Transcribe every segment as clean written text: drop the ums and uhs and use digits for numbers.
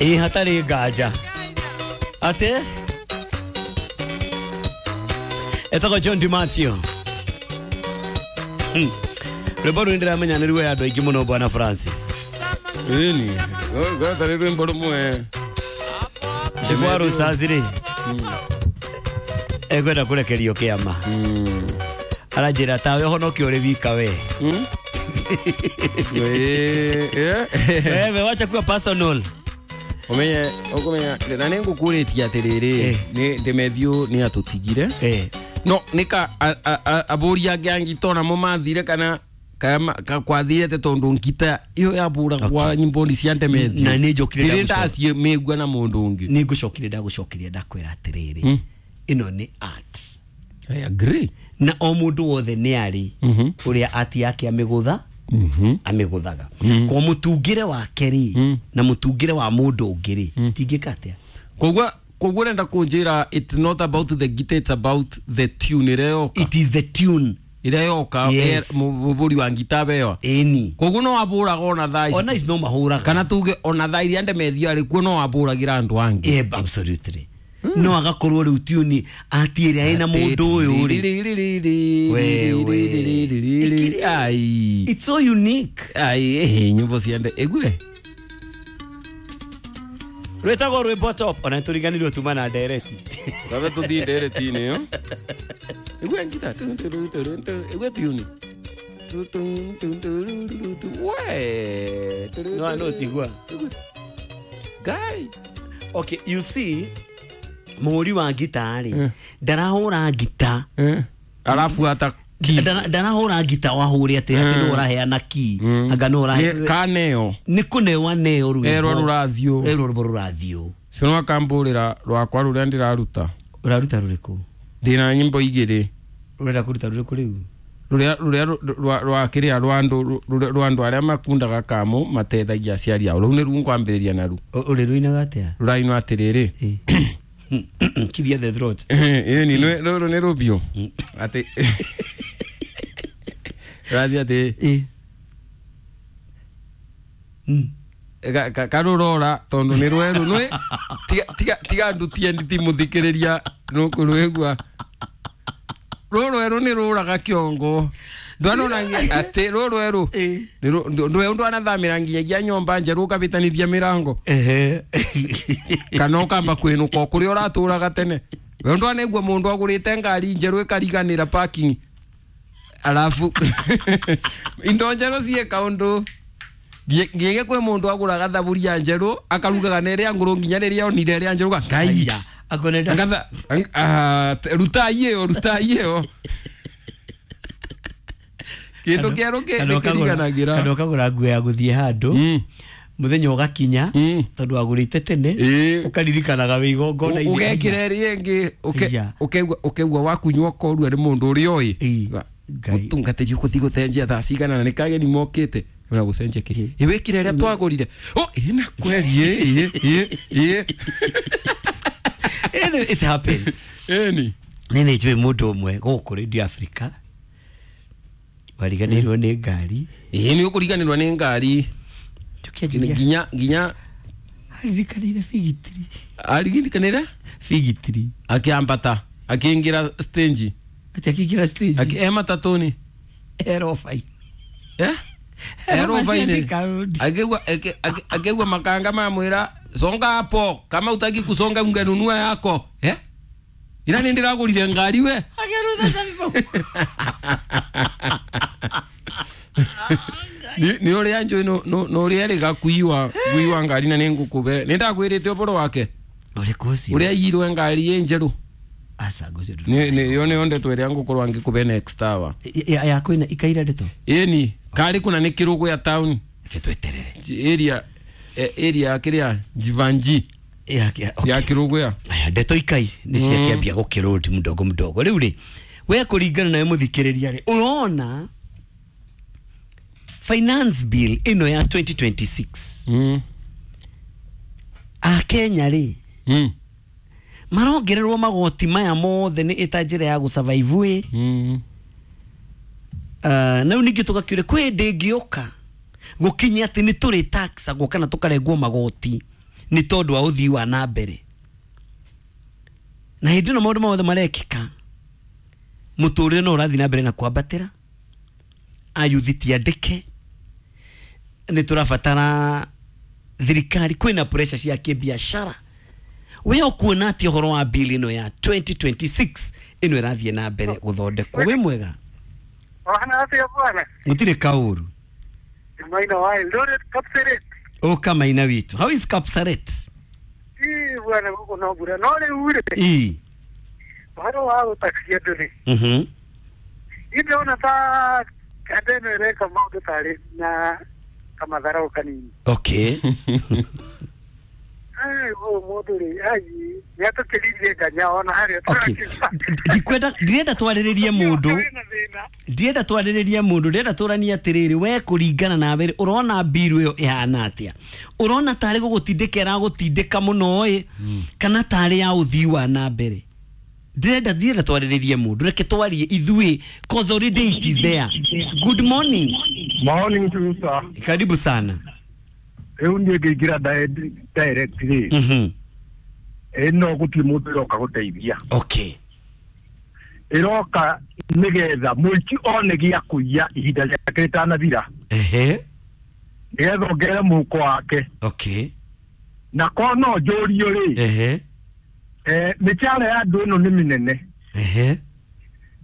Ĩ hatarĩ nganja atĩ etagwo John Di Mathew. Rwĩmbo rũu nĩndĩramenya nĩ ruoya andũ aingĩ mũno bwana Francis. Ĩni gwetha rwĩmbo rũmwe. Kwa Roosters rĩ ekwenda kũrekerio kĩama. Aranjĩra tawe ũhonoke ũrĩ wika we. Wewe wacha kuwa personal. Umenye ukumenya na nĩngũkũrĩtie atĩrĩrĩ nĩ Demethiũ nĩ atũtigire. No nĩka abũri angĩ a ngita onamo mathire kana kwathire te tondu ngita iyo yabũragwa nyimbo-inĩ cia Demethiũ. Na nĩ njokire ndĩrĩ ndacimĩigua na mũndũ ũngĩ. Nĩ ngũcokire ndagũcokeria ndakwĩra atĩrĩrĩ ĩno nĩ art. I agree. Na o mũndũ wothe nĩ arĩ ũrĩa art yake amĩgũtha amĩgũthaga. Kwa mũtungĩre wake rĩ na mũtungĩre wa mũndũ ũngĩ rĩ itingĩka atĩa. Koguo ũrenda kũnjĩra it's not about the guitar, it's about the tune ĩrĩa yoka. It is the tune ĩrĩa yoka. Yes. Mũbũri wa ngita bewa. Ĩni. Koguo no wabũraga ona thaa ici. Ona ici no mahũraga. Kana tuge ona thaa iria Demethiũ arĩ kuo no wabũragĩra andũ angĩ. Yeah, absolutely. No agakorwo rĩu tune ati ĩrĩa ĩna mũndũ ũyũ rĩ. Wewe. Ai. It's so unique. Ai, nyimbo cia Ĩgue. Rwĩtagwo rwĩmbo top ona nĩtũriganĩirwo tuma na ndereti. Twabe tũthiĩ ndereti-inĩ ĩyo. Ĩgue ngita. Ĩgue tune. We. No no tigua. Guy. Okay, you see mũhũri wa ngita rĩ ndarahũra ngita. Arabu ata key. Ndarahũra ngita wahũre atĩ atĩ nĩ ũraheana key. Anga nĩ ũrahe. Kaneo. Nĩ kũnewa neo rwĩmbo. Erwo rũrathiũ. Erwo rwĩmbo rũrathiũ. Cio no akambũrĩra rwakwa rũrĩa ndĩraruta. Ũraruta rũrĩkũ? Ndĩna nyimbo igĩrĩ. Ũrenda kũruta rũrĩkũ rĩu? Rũrĩa rwa kĩrĩa rwa andũ arĩa makundaga kamũ matethagia aciari ao. Rũu nĩruo ngwambĩrĩria naruo. Ũrĩ rũinaga atĩa? Rũrainwo atĩrĩrĩ. Clear the throat. Ĩni rũrũ nĩ rũbiũ. Atĩ rũrathiĩ atĩ karũrora tondũ nĩ rwerũ nĩ tiga ndutie nditimũthikĩrĩria nũkũrwĩgua. Rũrũ rwerũ nĩ rũraga kĩongo. Ndwanona atĩ rũrũ rwerũ ndwe ndwanathamĩra nginyagia nyũmba njerũ ũkabĩtanithia mĩrango. Kana ũkamba kwĩnũka o kũrĩa ũratũraga tene. We ndwanaigua mũndũ agũrĩte ngari njerũ ĩkariganĩra parking. Alafu indo njerũ ciĩ kaũndũ. Nginya kwĩ mũndũ agũraga thaburia njerũ akarugaga na ĩrĩa ngũrũ nginya rĩrĩa onire ĩrĩa njerũ Ngai. Akonenda. Ngatha rutai ĩyo rutai ĩyo. Kĩndũ kĩerũ kĩriganagĩra. Kana ũkagũra nguo ya gũthiĩ handũ. Mũthenya ũgakinya tondũ wagũrĩte tene ũkaririkanaga wĩ igongona-inĩ. Ũgekĩra ĩrĩa ĩngĩ ũkeigua wakunyua ũkorua nĩ mũndũ ũrĩa ũĩ. Mũtungatĩri ũgũthiĩ gũcenjia thaa cigana na nĩ kageni mokĩte. Ũra gũcenjia kĩ? Ĩ wĩkire ĩrĩa twagũrire. Oh, ĩna kweli ĩ. It happens. Ĩni. Nĩ nĩ njũĩ mũndũ ũmwe gũkũ Radio Africa wariganĩirwo nĩ ngari. Ĩ nĩ ũkũriganĩrwo nĩ ngari. Nginya nginya aririkanĩire bigitiri. Aririkanĩire bigitiri. Akĩambata akĩingĩra stage. Ati akĩingĩra stage. Akĩ matatũ-inĩ. Erobai. Eh? Erobai. Akĩigua makanga mamwĩra songa hapo kama utaki kusonga ungenunua yako. Eh? Ira nĩ ndĩragũrire ngari we. Akĩrutha cabi. Nĩ ũrĩa njũĩ no ũrĩa erĩga kuiwa ngari na nĩ ngũkũbe. Nĩ ndakwĩrĩte ũhoro wake. Ũrĩkũ ũcio? Ũrĩa aiyirwe ngari ĩ njerũ. Aca ngũcio. Nĩ yo nĩyo ndeto ĩrĩa ngũkorwo ngĩkũbe next hour. Ya kwĩna ikaira ndeto? Ĩni karĩ kũna nĩ kĩrũgũ ya town. Reke tweterere. Area area kĩrĩa Jivanji. Ya kĩrũgũ ya. Aya ndeto ikai nĩ ciakĩambia gũkĩrũndi mdogo mdogo. Rĩu rĩ we kũringana nawe mũthikĩrĩria rĩ ũrona finance bill ĩno ya 2026. A Kenya rĩ marongererwo magoti maya mothe nĩ ĩta njĩra ya gũsurvive ĩ. Na rĩu ningĩ tũgakĩũria kwĩ hĩndĩ ĩngĩũka gũkinya atĩ nĩ tũrĩ taxagwo kana tũkarengwo magoti Nĩ tondũ wa ũthii wa na mbere. Na hĩndĩ ĩno maũndũ mothe marekĩka, mũtũrĩre no ũrathiĩ na mbere na kwambatĩra. Ayuthi ti andĩke, nĩ tũrabatara thirikari, kwĩna pressure cia kĩbiacara. We ũkuona atĩ ũhoro wa bill ĩno ya 2026 ĩno ĩrathiĩ na mbere gũthondekwo? Wĩ mwega? Wana afya bwana. Gũtirĩ kaũru. Maina wa Eldoret Kapseret. Ũka Maina witũ. How is Kapseret? Ii bwana guko no bura. No rĩu rĩ. Ii. Ũhoro wa gũtaxi andũ rĩ. Ndĩrona ta andũ ĩno ĩreka maũndũ tarĩ na kamatharau kanini. Okay. Ai ũyũ mũndũ rĩ, ai nĩ atũkĩririe nganya ona harĩa. Okay. Ndikwenda, ndirenda twarĩrĩrie mũndũ. Ndirenda twarĩrĩrie mũndũ, ndĩrenda tũranie atĩrĩrĩ, we kũringana nawe rĩ, ũrona mbiru ĩyo ĩhana atĩa? Ũrona tarĩ gũgũtindĩka ĩragũtindĩka mũno ĩ, kana tarĩ ya ũthii wa na mbere? Ndirenda twarĩrĩrie mũndũ, reke twarie ithuĩ, cause already it is there. Good morning. Morning to you, sir. Karibu sana. Rĩu niĩ ngĩingĩra direct rĩ, ĩno gũtirĩ mũndũ ĩroka gũteithia. Okay. Ĩroka nĩgetha mũici one gĩa kũiya ihinda rĩake rĩtanathira. Ehe. Nĩgetha ongerere mũhuko wake. Okay. Na korwo no njũrio rĩ, Ehe. Mĩcara ya andũ ĩno nĩ mĩnene. Ehe.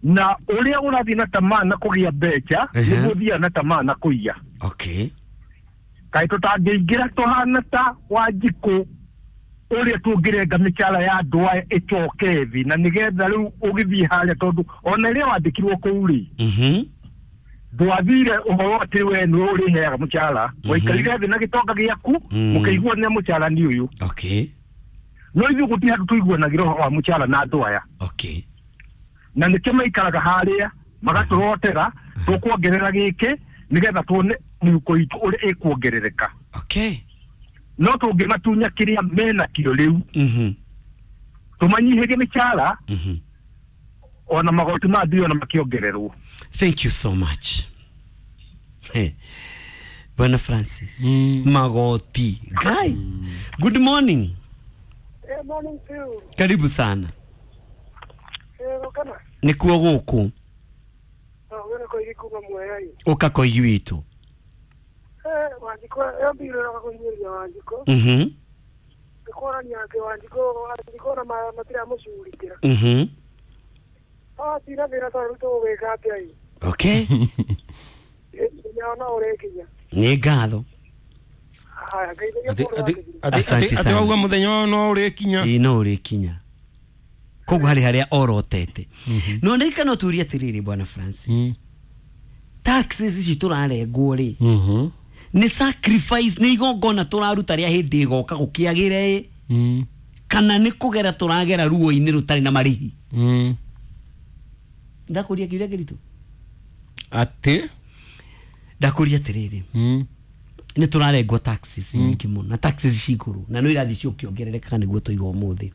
Na ũrĩa ũrathiĩ na tamaa na kũgĩa mbeca, nĩguo ũthiaga na tamaa na kũiya. Okay. Kaĩ tũtangĩingĩra tũhana ta Wanjikũ ũrĩa tũngĩrenga mĩcara ya andũ aya ĩcoke thĩ, na nĩgetha rĩu ũgĩthiĩ harĩa, tondũ ona rĩrĩa wandĩkirwo kũu rĩ, ndwathire ũhoro atĩ we nĩwe ũrĩheaga mũcara, waikarire thĩ na gĩtonga gĩaku, mũkĩiguanĩra mũcara nĩ ũyũ. Okay. No ithuĩ gũtirĩ handũ tũiguanagĩra ũhoro wa mũcara na andũ aya. Okay. Na nĩkĩo maikaraga harĩa magatũrotera tũkuongerera gĩkĩ nĩgetha tuone mĩhuko itũ ũrĩa ĩkuongerereka. Okay. No tũngĩmatunya kĩrĩa menakĩo rĩu, tũmanyihĩrie mĩcara, ona magoti ma mbia ona makĩongererwo. Thank you so much. Hey. Bwana Francis. Magoti. Guy. Good morning. Morning to you. Karibu sana. Kana. Nĩkuo gũkũ. Wena koigi kuma Mwea. Ũka koigi witũ. Wanjikũ ĩyo mbiru ĩroka kũhinyĩrĩria Wanjikũ. Nĩ kuonania atĩ Wanjikũ ona matiramũcugurikĩra. Tina thĩna tondũ rĩu tũgũgĩka atĩa ĩ? Okay. Mũthenya ona ũrĩkinya. Nĩ ngatho. Haya, ngeithagia mũndũ wa kĩgirĩ. Atĩ wauga mũthenya ũyũ no ũrĩkinya. Ĩĩ no ũrĩkinya. Koguo harĩ harĩa orotete. No ndirikana ũtũrie atĩrĩrĩ Bwana Francis. Taxes ici tũrarengwo rĩ, nĩ sacrifice, nĩ igongona tũraruta rĩa hĩndĩ ĩgoka gũkĩagĩre ĩ, kana nĩ kũgera tũragera ruo-inĩ rũtarĩ na marĩhi? Ndakũria kĩũria kĩritũ. Atĩ? Ndakũria atĩrĩrĩ, nĩ tũrarengwo taxes nyingĩ mũno, na taxes ci igũrũ, na no irathiĩ ciũkĩongerereka nĩguo tũiga ũmũthĩ.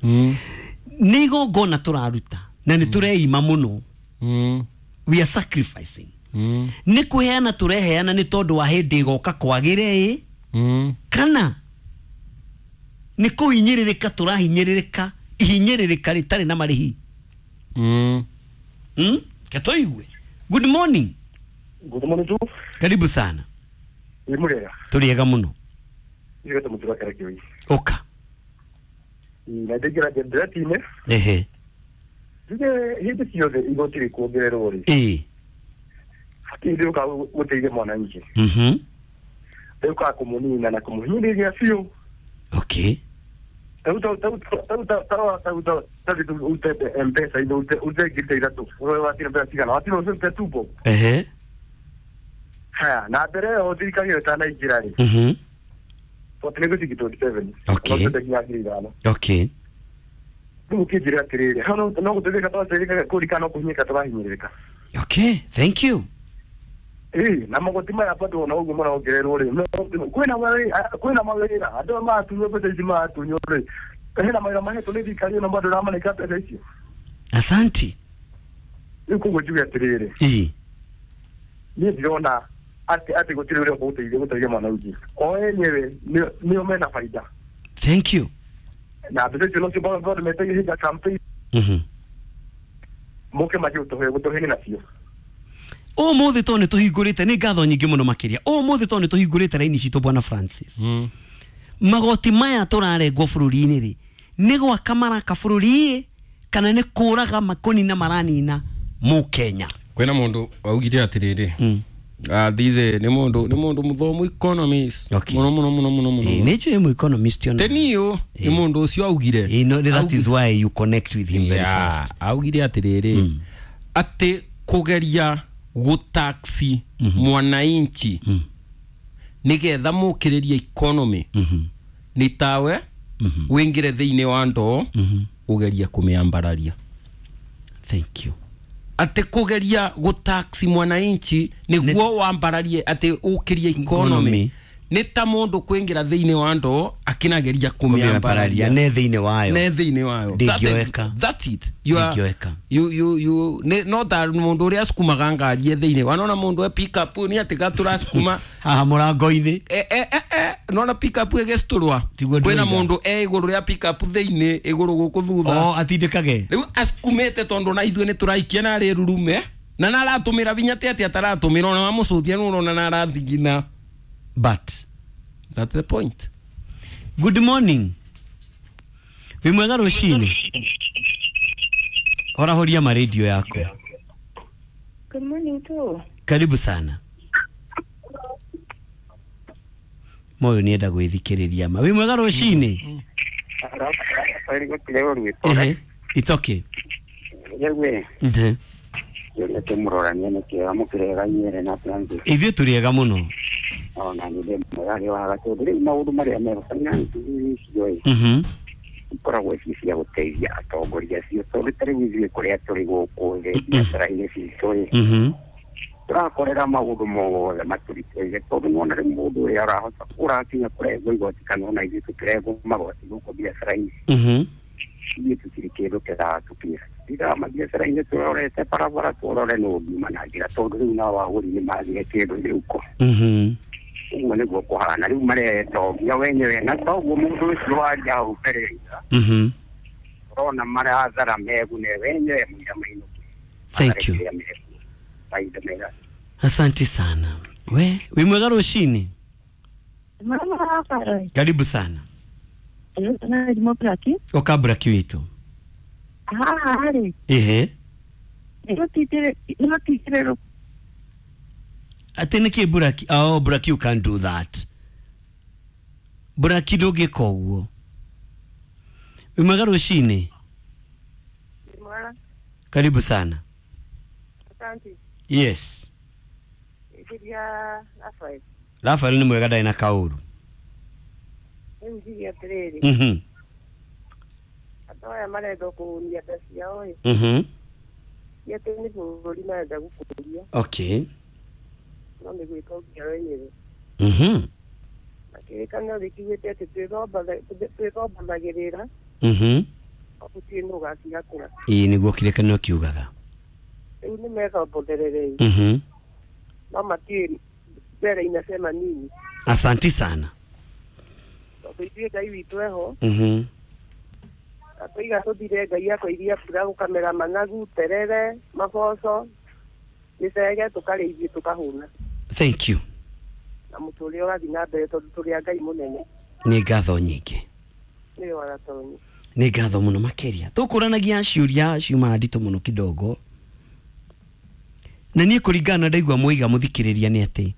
Nĩ igongona tũraruta na nĩ tũreima mũno. We are sacrificing. Nĩ kũheana tũreheana nĩ tondũ wa hĩndĩ ĩgoka kwagĩre ĩ, kana nĩ kũhinyĩrĩrĩka tũrahinyĩrĩrĩka ihinyĩrĩrĩka rĩtarĩ na marĩhi? Ketũigue. Good morning. Good morning to. Karibu sana. Wĩ mũrĩega? Tũrĩega mũno. Ithuĩ tũmũtura Karakioi. Ũka. Na ndĩngĩra ndĩratinĩ. Ehe. Njuge hĩndĩ ciothe igoti rĩkuongererwo rĩ, Ĩĩ. hatirĩ rĩũkaga gũteithia mwananchi. Rĩũkaga kũmũnina na kũmũhinyĩrĩria biũ. Okay. Ute M-Pesa ino ute ngiri ithatũ. Ũrĩa watire mbeca cigana? Watire ũcio ute tumbo. Ehe. Haya, na mbere ĩyo thirikari ĩyo ĩtanaingĩra rĩ, twatinĩgũci 27. Okay. No tũte ngiri ithano. Okay. Rĩu ũkĩnjĩra atĩrĩrĩ, hau no gũteithĩka twateithĩkaga kũrika no kũhinyĩka tũrahinyĩrĩrĩka. Okay, thank you. Na magoti maya bado ona ũguo marongererwo rĩ, kwĩna mawĩra andũ aya maratunywo mbeca ici maratunywo rĩ, hena mawĩra mahetwo nĩ thirikari ĩno bado ĩramanengera mbeca icio. Asante. Rĩu koguo njuge atĩrĩrĩ, Ĩĩ. niĩ ndirona atĩ gũtirĩ ũrĩa ũgũteithia gũteithia mwananchi. O enyewe nĩo mena baida. Thank you. Na mbeca icio nocio government ĩhinda campaign. Moke manjie gũtũhe nacio. Ũmũthĩ tondũ nĩtũhingũrĩte, nĩ ngatho nyingĩ mũno makĩria. Ũmũthĩ tondũ nĩtũhingũrĩte raini citũ bwana Francis. Magoti maya tũrarengwo bũrũri-inĩ rĩ, nĩ gwaka maraka bũrũri kana nĩ kũraga makũnina maranina mũkenya? Kwĩna mũndũ augire atĩrĩrĩ, these nĩ mũndũ mũthomu economist. Okay. Mũno mũno mũno mũno mũno. Nĩ njũĩ mũ economist ona. Teniyo nĩ mũndũ ũcio augire. No, that is why you connect with him very fast. Augire atĩrĩrĩ, atĩ kũgeria gũtaxi mwananchi nĩgetha mũkĩrĩrie economy nĩ tawe wĩingĩre thĩinĩ wa ndoo ũgerie kũmĩambararia. Thank you. Atĩ kũgeria gũtaxi mwananchi nĩguo wambararie atĩ ũkĩrie economy nĩ ta mũndũ kwĩingĩra thĩinĩ wa ndoo akĩnageria kũmĩambararia ne thĩinĩ wayo. Ne thĩinĩ wayo. Ndingĩoeka. That's it. You are Ndingĩoeka. you ne no ta mũndũ ũrĩa acukumaga ngari e thĩinĩ wanona mũndũ e pick up nĩ atĩ gatũracukuma haha mũrango-inĩ. Nona pick up ĩgĩcitũrwa Tiguo kwĩna ndĩroiga. mũndũ e igũrũ rĩa pick up thĩinĩ igũrũ gũkũ thutha. O atindĩkage. Rĩu acukumĩte tondũ na ithuĩ nĩ tũraikia na arĩ rurume na naratũmĩra vinya atĩ atĩ ataratũmĩra ona wamũcũthia nĩ ũrona na arathigina. But that's the point. Good morning. Wĩ mwega rũcinĩ? Horahoria maredio yako. Good morning too. Karibu sana. Moyo nienda gwĩthikĩrĩria ma. Wĩ mwega rũcinĩ? It's okay. Ithuĩ tũrĩ ega mũno. Ikoragwo ci cia gũteithia atongoria acio tondũ ta rĩu ithuĩ kũrĩa tũrĩ gũkũ thĩ biacara-inĩ citũ rĩ, tũrakorera maũndũ mothe matũritũhĩire tondũ nĩwona rĩu mũndũ ũrĩa ũrahota ũrakinya kũrengwo igoti kana ona ithuĩ tũkĩrengwo magoti gũkũ biacara-inĩ, ithuĩ tũtirĩ kĩndũ kĩratũkinyĩra. Tũthiaga mabiacara-inĩ tũrorete barabara tũrore nũ ngiuma na njĩra tondũ rĩu nao agũri nĩ magire kĩndũ mĩhuko. Ũguo nĩguo kũhana rĩu maretongia wenyewe na toguo mũndũ ũcio waria hau mbere ũrona marathara megune wenyewe mũira mainũke. Thank you. Asante sana. We, wĩ mwega rũcinĩ? Karibu sana. Okabraki witũ. Ehe. Atĩ nĩkĩ Buraki? Oh, Buraki, you can't do that. Buraki ndũngĩka ũguo. Wĩ mwega rũcinĩ? Karibu sana. Asante. Yes. Rafael nĩ mwega ndarĩ na kaũru. Andũ aya marenda kũhunia nda ciao ĩ. Ti atĩ nĩ bũrũri marenda gũkũria. Okay. No nĩ gwĩtongia wenyewe. Na kĩrĩkanĩro gĩkiugĩte atĩ twĩthombanagĩrĩra. Gũtirĩ nũ ũgacihakũra. Ĩĩ nĩguo kĩrĩkanĩro kiugaga. Rĩu nĩ methombothereire. No matiũĩ mbere inasema nini. Asante sana. Tondũ ithuĩ Ngai witũ eho. Atũiga tũthire Ngai akoiria mbura gũkamera managu, terere, maboco, mĩcege tũkarĩa ithuĩ tũkahũna. Thank you. Na mũtũrĩre ũrathiĩ na mbere tondũ tũrĩ a Ngai mũnene. Nĩ ngatho nyingĩ. Nĩ waratonyi. Nĩ ngatho mũno makĩria. Tũkũranagia ciũria ciuma nditũ mũno kidogo. Na niĩ kũringana na ndaigua mũiga mũthikĩrĩria nĩ atĩ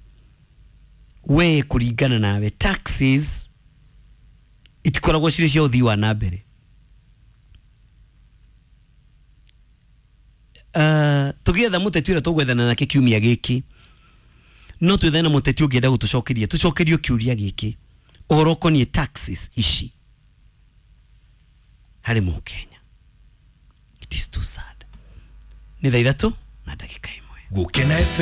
we kũringana nawe taxes itikoragwo cirĩ cia ũthii wa na mbere. Tũgĩetha mũteti ũrĩa tũgwethana nake kiumia gĩkĩ, no twĩthane na mũteti ũngĩenda gũtũcokeria tũcokerio kĩũria gĩkĩ ũhoro ũkoniĩ taxes ici harĩ mũkenya. It is too sad. Nĩ thaa 3:01. Gũkena FM.